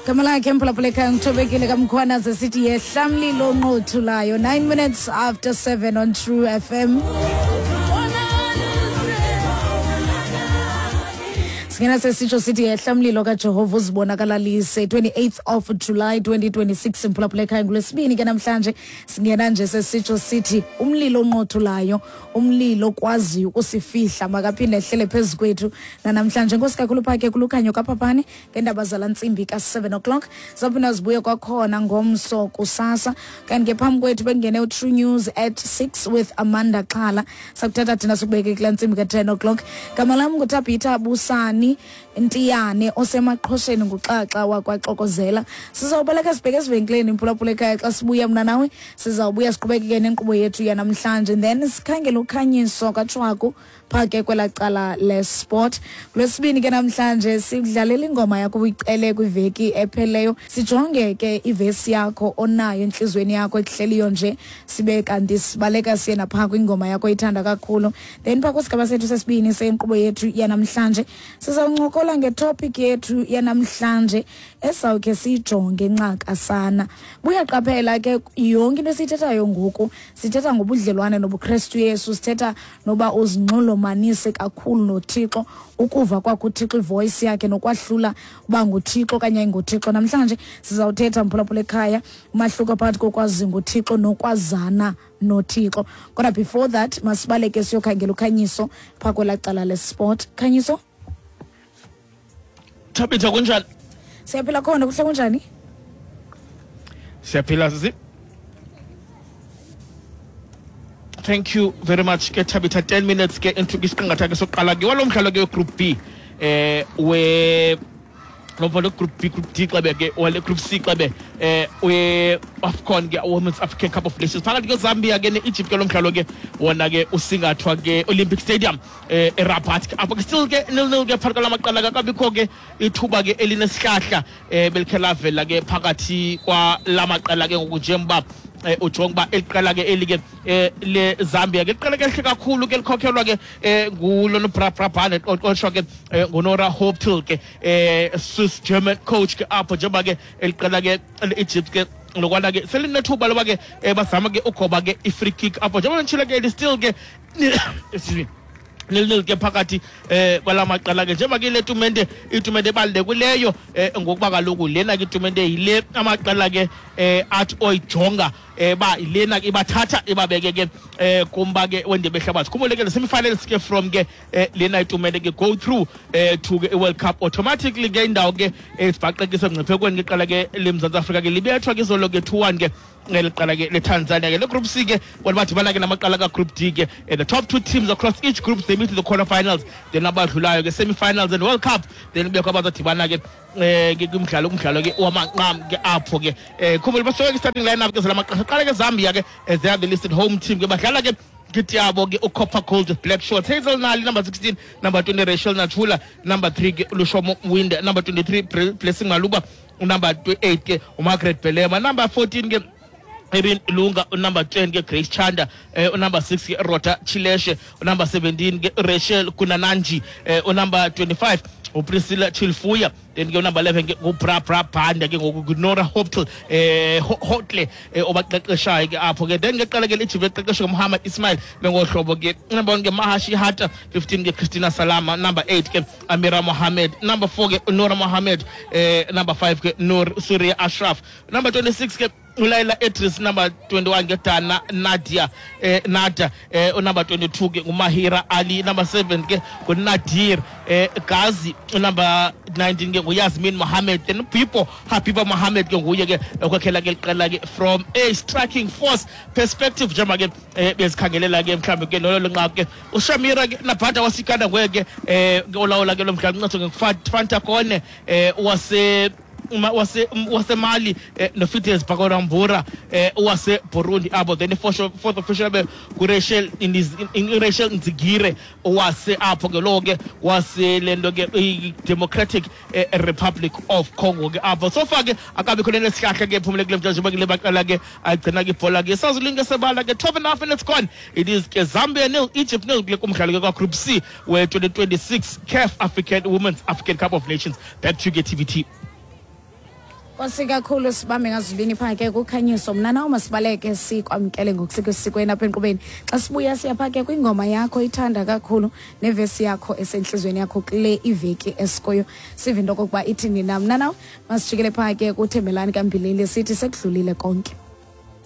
Gama lakhe mphulaphula ekhaya ngithobekile kamkhwana zesithi yehla mlilo onqothulayo 9 minutes after 7 on True FM. Singena sesitsho sithi yehla mlilo kaJehova uzibonakalalise 28th of July 2026 mphulaphula ekhaya ngolwesibini ke namhlanje. Singena nje sesitsho sithi umlilo onqothulayo, umlilo okwaziyo ukusifihla makaphinde ehlele phezu kwethu nanamhlanje. Enkosi kakhulu phake kulukhanyo kaphaphane ngeendaba zala ntsimbi ka-7 o'clock. Zawuphinda zibuye kwakhona ngomso kusasa. Kanti ke phambi kwethu bekungene uTrue News at 6 with Amanda Xhala. Sakuthatha thina sikubeke kula ntsimbi ka-10 o'clock. Gama lam nguTabitha Busani Ntiyane osemaqhosheni nguxaxa wakwaxokozela. Sizawubaleka sibheke ezivenkileni mphulaphula ekhaya. Xa sibuya mna nawe sizawubuya siqhubekeke nenkqubo yethu yanamhlanje, then sikhangele ukhanyiso kaTshwaku phaa ke kwelaa cala lesport. Kulwesibini ke namhlanje sikudlalela ingoma yakho uyicele kwiveki epheleyo. Sijonge ke ivesi yakho onayo entliziyweni yakho ekuhleliyo nje, sibe kanti sibaleka siye naphaa kwingoma yakho oyithanda kakhulu. Then phaa kwisigaba sethu sesibini senkqubo yethu yanamhlanje sizawuncokola ngetopic yethu yanamhlanje esawukhe siyijonge ncakasana. Buyaqaphela ke yonke into esiyithethayo ngoku, sithetha ngobudlelwane nobuKrestu Yesu, sithetha noba uzinxulumanise kakhulu noThixo, ukuva kwakho uThixo ivoice yakhe nokwahlula uba nguThixo okanye ayinguThixo. Namhlanje sizawuthetha mphulaphula ekhaya umahluko phakathi kokwazi nguThixo nokwazana noThixo. Kodwa before that masibaleke siyokhangela ukhanyiso phaa kwelaa cala lesport. Khanyiso? Thabitha, kunjani? Siyaphila khona, kuhle kunjani? Siyaphila sisi. Thank you very much ke Thabitha. 10 minutes ke into isiqingatha ke sokuqala ke walo mdlalo ke group B we lo mdlalo group B, group D xebe ke wale group C xebe we AFCON ke Women's African Cup of Nations phakathi ke Zambia ke ne-Egypt ke lo mdlalo ke wona ke usingathwa ke Olympic Stadium eRabat ke apho ke still ke 0-0 ke phakathi kwala maqela akabikho ke ithuba ke elinesihlahla belikhe lavela ke phakathi kwala maqela ke ngoku njengoba ujonga uba eli qela ke eli ke le Zambia ke liqela ke elihle kakhulu ke likhokhelwa ke ngulo Brabane qoqoshwa ke nguNora Hoptil ke Swiss German coach ke apho njengoba ke eliqela ke le-Egypt ke lokwana ke selinethuba loba ke bazama ke ugoba ke i-free kick apho njengoba nditshilo ke eli still ke excuse me nil ke phakathi kwala maqela ke njengoba ke le tumente itumente ebalulekileyo ngokuba kaloku lena ke itumente yile amaqela ke athi oyijonga ba lena ke ibathatha ibabeke ke kumba ke wendebe ehlabathi. Khumbule ke semifinals ke from ke lena itumente ke go through to ke i-World Cup automatically ke indawo ke esibhaqekisa ngciphekweni ke qala ke leMzantsi Afrika ke libethwa ke izolo ke 2-1 ke ngeli qala ke leTanzania ke le group C ke bona badibana ke namaqala ka group D ke the top two teams across each group they meet in the quarterfinals, then abadlulayo ke semi-finals and World Cup, then kubekho abazodibana ke ke kumdlalo ke wamanqam ke apho ke khumbula basuke ke starting lineup ke zala maqela qala ke Zambia ke as they are the listed home team ke badlala ke kit yabo ke ucopper gold with black shorts. Hazel Nali number 16, number 20 Rachel Nachula, number 3 ke Lushomo Wind, number 23 Blessing Maluba, number 8 ke uMargaret Belema, number 14 ke Erin Lunga, number 10 ke Grace Chanda, number 6 ke Rota Chileshe, number 17 ke Rachel Kunananji, number 25 uPriscilla Chilfuya, then ke number 11 ke nguBra Bra Banda ke ngoku nguNora Hoptle Hotle obaqeqeshayo ke apho ke. Then ke qala ke Egypt eqeqeshwa nguMuhammad Ismail bengohlobo ke number 1 ke Mahashi Hata, 15 ke Christina Salama, number 8 ke Amira Mohammed, number 4 ke Nora Mohammed, number 5 ke Nur Surya Ashraf, number 26 ke uLaila Edris, number 21 ke Dana Nadia Nada, number 22 ke nguMahira Ali, number 7 ke nguNadir Gazi, number 19 ke nguYasmin Mohammed, then Pipo Habiba Mohammed ke nguye ke okhokhela ke liqela ke from a striking force perspective njengoba ke bezikhangelela ke mhlawumbi ke lolo nqaku ke uShamira ke Nabhada wasikanda nguye ke olawula ke lo mdlalo uncedwe nguFanta Kone wase wasemali noFides Bakorambura wase Burundi abo. Then fourth official be nguRachel Rachel Nzigire wase apho ke lo ke wase lento ke i-Democratic Republic of Congo ke apho. So far ke akabikho lento esihlahla ke phumule kule mdlalo njengoba ke baqala ke agcina ke ibhola ke sazulinke sebala ke 12 and a half minutes gone. It is ke Zambia nil, Egypt nil kule kumdlalo ke kwa Group C we 2026 CAF African Women's African Cup of Nations. Back to you ke TVT. Nkosi kakhulu, sibambe ngazibini phaa ke kukhanyiso. Mna nawo masibaleke sikwamkele ngokusesikweni apha enkqubeni. Xa sibuya siya phaa ke kwingoma yakho ithanda kakhulu nevesi yakho esentliziyweni yakho kule iveki esikuyo, sive into okokuba ithini na. Mna nawe masijikele phaa ke kuThembelani kaMbilili, sithi sekudlulile konke.